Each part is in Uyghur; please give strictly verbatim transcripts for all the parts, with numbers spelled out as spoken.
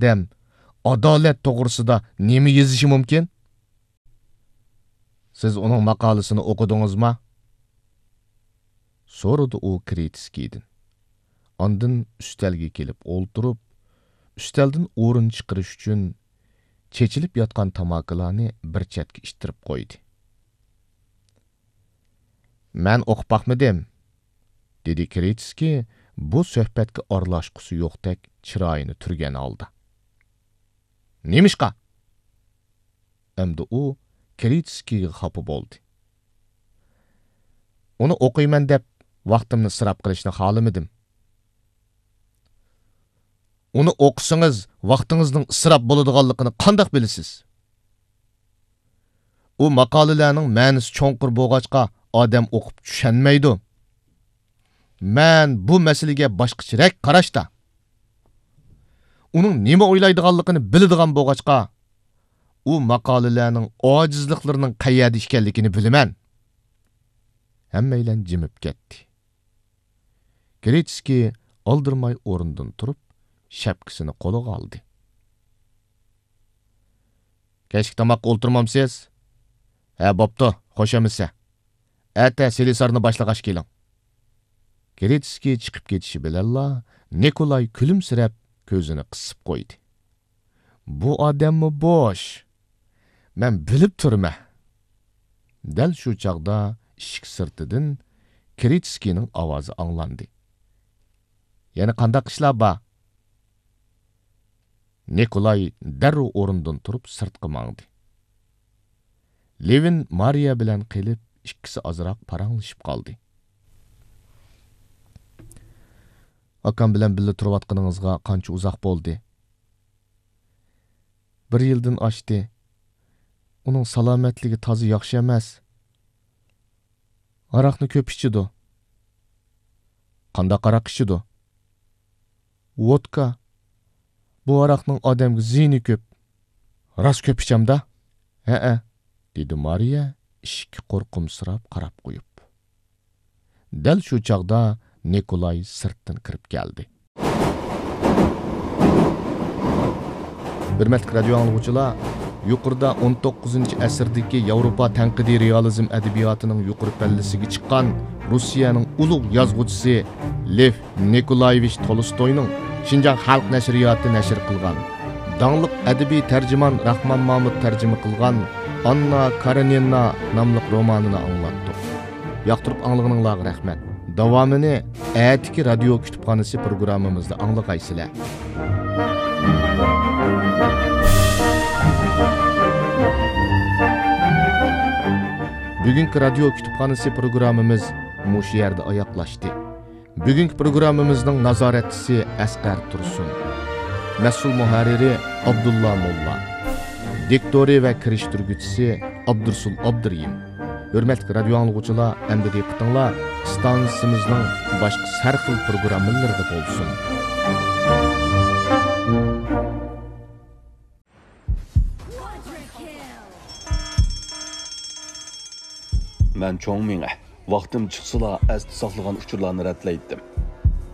ئادەم ئادالەت توغرىسىدا نېمە يېزىشى مۇمكىن؟ سىز ئۇنىڭ ماقالىسىنى ئوقۇدىڭىزما؟ سورىدى ئۇ كرىتسكىيدىن. ئاندىن ئۈستەلگە كېلىپ ئولتۇرۇپ، ئۈستەلدىن ئورۇن چىقىرىش ئۈچۈن چېچىلىپ ياتقان تاماكىلارنى بىر چەتكە ئىتتىرىپ قويدى. مەن ئوقۇپ باقمىدىم، دېدى كرىتسكىي بۇ سۆھبەتكە ئارىلاشقۇسى يوقتەك چىرايىنى تۈرگەن ھالدا. نېمىشقا؟ ئەمدى ئۇ كرىتسكىيگە خاپا بولدى. ئۇنى ئوقۇيمەن دەپ ۋاقتىمنى ئىسراپ قىلىشنى خالىمىدىم. ئۇنى ئوقۇسىڭىز، ۋاقتىڭىزنىڭ ئىسراپ بولىدىغانلىقىنى قانداق بىلىسىز؟ ئۇ ماقالىلەرنىڭ مەنىسى چوڭقۇر بولغاچقا، ئادەم ئوقۇپ چۈشەنمەيدۇ. مەن بۇ مەسىلىگە باشقىچىرەك قاراشتا. ئۇنىڭ نېمە ئويلايدىغانلىقىنى بىلىدىغان بولغاچقا، ئۇ ماقالىلەرنىڭ ئاجىزلىقلىرىنىڭ قەيەردە ئىكەنلىكىنى بىلىمەن. ھەممەيلەن جىمىپ كەتتى. كرىتسكىي ئالدىرىماي ئورنىدىن تۇرۇپ، شەپكىسىنى قولىغا ئالدى. كەچلىك تاماققا ئولتۇرمامسىز؟ ھە، بوپتۇ، خوش ئەمىسە. ئەتە سېلىسارنى باشلىغاچ كېلىڭ. كرىتسكىي چىقىپ كېتىشى بىلەنلا، نىكولاي كۈلۈمسىرەپ، كۆزىنى قىسىپ قويدى. بۇ ئادەممۇ بوش. مەن بىلىپ تۇرىمەن. دەل شۇ چاغدا ئىشىك سىرتىدىن كرىتسكىينىڭ ئاۋازى ئاڭلاندى. يەنە قانداق ئىشلار بار؟ نىكولاي دەررۇ ئورنىدىن تۇرۇپ سىرتقا ماڭدى. لېۋىن مارىيە بىلەن قېلىپ، ئىككىسى ئازراق پاراڭلىشىپ قالدى. ئاكام بىلەن بىللە تۇرۇۋاتقىنىڭىزغا قانچە ئۇزاق بولدى؟ بىر يىلدىن ئاشتى. ئۇنىڭ سالامەتلىكى تازا ياخشى ئەمەس. ھاراقنى كۆپ ئىچىدۇ. قانداق ھاراق ئىچىدۇ؟ ۋودكا. بۇ ھاراقنىڭ ئادەمگە زىيىنى كۆپ. راست كۆپ ئىچەمدا؟ ھەئە، دېدى مارىيە ئىشىككە قورقۇمسىراپ قاراپ قويۇپ. دەل شۇ چاغدا نىكولاي سىرتتىن كىرىپ كەلدى. ھۆرمەتلىك رادىيو ئاڭلىغۇچىلار، يۇقىرىدا ئون توققۇزىنچى ئەسىردىكى ياۋروپا تەنقىدىي رېئالىزم ئەدەبىياتىنىڭ يۇقىرى پەللىسىگە چىققان روسىيەنىڭ ئۇلۇغ يازغۇچىسى لېف نىكولايېۋىچ تولستوينىڭ شىنجاڭ خەلق نەشرىياتى نەشر قىلغان، داڭلىق ئەدەبىي تەرجىمان راخمان مامۇت تەرجىمە قىلغان ئاننا كارېنىنا ناملىق رومانىنى ئاڭلاتتۇق. ياقتۇرۇپ ئاڭلىغىنىڭلارغا رەھمەت. داۋامىنى ئەتىكى رادىيو كۇتۇپخانىسى پروگراممىمىزدا ئاڭلىغايسىلەر. بۈگۈنكى رادىيو كۇتۇپخانىسى پروگراممىمىز مۇشۇ يەردە ئاياغلاشتى. بۈگۈنكى پروگراممىمىزنىڭ نازارەتچىسى ئەسقەر تۇرسۇن. مەسئۇل مۇھەررىرى ئابدۇللا موللا. دىكتورى ۋە كىرىشتۈرگۈچىسى ئابدۇرسۇل ئابدۇرېھىم. ھۆرمەتلىك رادىيو ئاڭلىغۇچىلار، ئەمدى دىققىتىڭلار ئىستانسىمىزنىڭ باشقا ھەر خىل پروگراممىلىرىدا بولسۇن. مەن چوڭ مېڭە. ۋاقتىم چىقسىلا ئەستە ساقلىغان ئۇچۇرلارنى رەتلەيتتىم.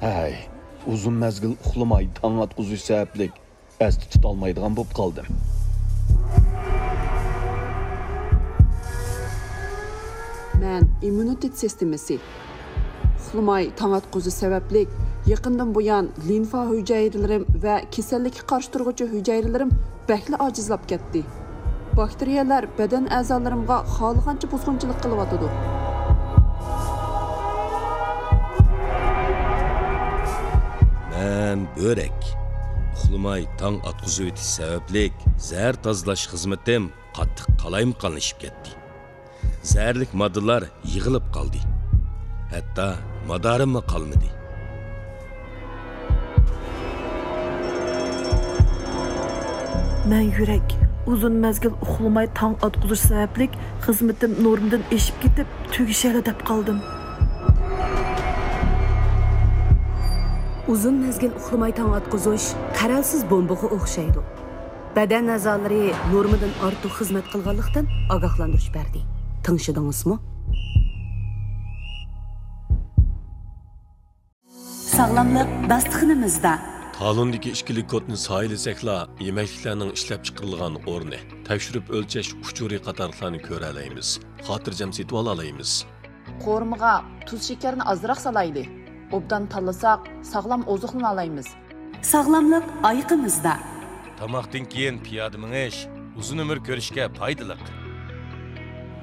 ھەي، ئۇزۇن مەزگىل ئۇخلىماي تاڭ ئاتقۇزۇش سەۋەبلىك ئەستە تۇتالمايدىغان بولۇپ قالدىم. مەن ئىممۇنىتېت سىستېمىسى. ئۇخلىماي تاڭ ئاتقۇزۇش سەۋەبلىك يېقىندىن بۇيان لىمفا ھۈجەيرىلىرىم ۋە كېسەللىككە قارشى تۇرغۇچى ھۈجەيرىلىرىم بەكلا ئاجىزلاپ كەتتى. باكتېرىيەلەر بەدەن ئەزالىرىمغا خالىغانچە بۇزغۇنچىلىق قىلىۋاتىدۇ. مەن بۆرەك. ئۇخلىماي تاڭ ئاتقۇزۇۋېتىش سەۋەبلىك زەھەر تازىلاش خىزمىتىم قاتتىق قالايمىقانلىشىپ كەتتى. زەھەرلىك ماددىلار يىغىلىپ قالدى. ھەتتا مادارىممۇ قالمىدى. مەن يۈرەك. ئۇزۇن مەزگىل ئۇخلىماي تاڭ ئاتقۇزۇش سەۋەبلىك خىزمىتىم نورمىدىن ئېشىپ كېتىپ، تۈگىشەيلا دەپ قالدىم. ئۇزۇن مەزگىل ئۇخلىماي تاڭ ئاتقۇزۇش قەرەلسىز بومبىغا ئوخشايدۇ. بەدەن ئەزالىرى نورمىدىن ئارتۇق خىزمەت قىلغانلىقتىن ئاگاھلاندۇرۇش بەردى. تىڭشىدىڭىزمۇ؟ ساغلاملىق داستىخىنىمىزدا. قالۇندىكى ئىككىلىك كودنى سايىلىسەكلا، يېمەكلىكلەرنىڭ ئىشلەپچىقىرىلغان ئورنى، تەكشۈرۈپ ئۆلچەش ئۇچۇرى قاتارلىقلارنى كۆرەلەيمىز، خاتىرجەم سېتىۋالالايمىز. قورۇمىغا تۇز شېكەرنى ئازراق سالايلى. ئوبدان تاللىساق، ساغلام ئوزۇقلىنالايمىز. ساغلاملىق ئايىقىمىزدا. تاماقتىن كېيىن پىيادە مېڭىش ئۇزۇن ئۆمۈر كۆرۈشكە پايدىلىق.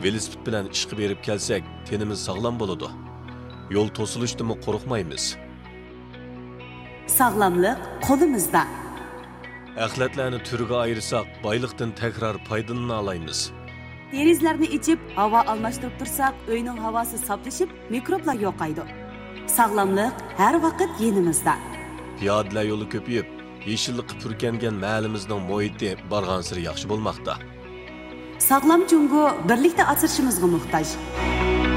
ۋېلىسىپىت بىلەن ئىشقا بېرىپ كەلسەك، تېنىمىز ساغلام بولىدۇ. يول توسۇلۇشتىنمۇ قورقمايمىز. ساغلاملىق قولىمىزدا. ئەخلەتلەرنى تۈرگە ئايرىساق، بايلىقتىن تەكرار پايدىلىنالايمىز. دېرىزىلەرنى ئېچىپ، ھاۋا ئالماشتۇرۇپ تۇرساق، ئۆينىڭ ھاۋاسى ساپلىشىپ، مىكروبلار يوقايدۇ. ساغلاملىق ھەر ۋاقىت يېنىمىزدا. پىيادىلەر يولى كۆپىيىپ، يېشىللىققا پۈركەنگەن مەھەللىمىزنىڭ مۇھىتى بارغانسېرى ياخشى بولماقتا. ساغلام جۇڭگو بىرلىكتە ئاسرىشىمىزغا موھتاج.